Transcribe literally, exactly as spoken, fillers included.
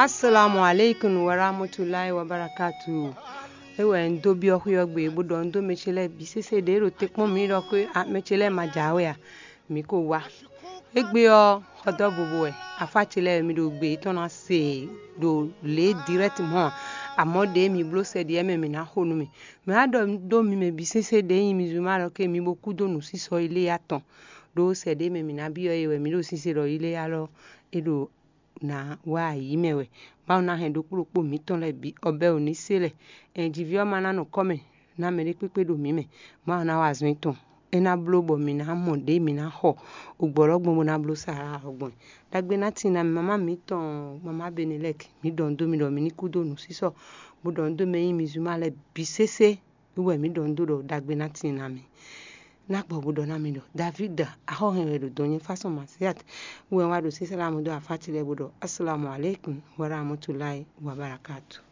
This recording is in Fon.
Assalamu alaikum warahmatullahi wabarakatuh. É wɛ un dó byɔ́ xwé ɔ́ gbe, bó ɖɔ un dó mɛ ce lɛ́ɛ bǐ sésé ɖě ɖo te kpɔ́n mǐ ɖɔ xwé mɛ ce lɛ́ɛ ma jǎwe a? Mǐ ko wá. Égbé ɔ́, xɔdɔ́ vovo wɛ, afá ce lɛ́ɛ wɛ mi ɖo gbe yětɔn ná se ɖo lě dirɛ́timɔ́ ǎ. Amɔ̌ ɖě mi bló sɛ ɖi ɛ mɛ mǐ ná xo nú mì. Mɛ wá ɖɔ dó mi mɛ bǐ sésé ɖě nyi mi zumá lɔ ké mi bo kú dó nǔsísɔ iléyá tɔn. Ɖó sɛ ɖě mɛ mǐ ná byɔ́ é wɛ mǐ ɖo sísé ɖɔ iléyá lɔ é ɖo ná wá ayǐ mɛ wɛ. Mawu ná hɛn ɖokpó ɖokpó mǐtɔn lɛ́ɛ bǐ ɔbɛ́ ò ní se lɛ. Ɛn jǐví ɔ́ ma ná nɔ kɔ́ mɛ ná mɛ ɖé kpékpé ɖo mǐ mɛ. Mawu ná wa azɔn étɔn. É ná bló bɔ mǐ ná mɔ ɖě mǐ ná xɔ ògbɔ̌lɔ́gbɔn bó ná bló sa ɔ́ gbɔn. Ɖagbe ná tin ná mì mamá mǐtɔn mamá Benelɛk, mǐ ɖɔ nǔ dó mi ɖɔ mi ní kú dó nǔsísɔ, bó ɖɔ nǔ dó mɛ nyí mi zuma lɛ́ɛ bǐ sésé. Wú wɛ mǐ ɖɔ nǔ dó ɖɔ ɖagbe ná tin ná mi. Ná gbɔ bó ɖɔ ná mi ɖɔ David axɔ́hɛn wɛ ɖo dɔn nyɛ fásɔn Masiat. Wú wɛ wá ɖo sísá lámú dó afá ce lɛ́ɛ bó ɖɔ Assalamu alaikum warahmatullahi wabarakatuh.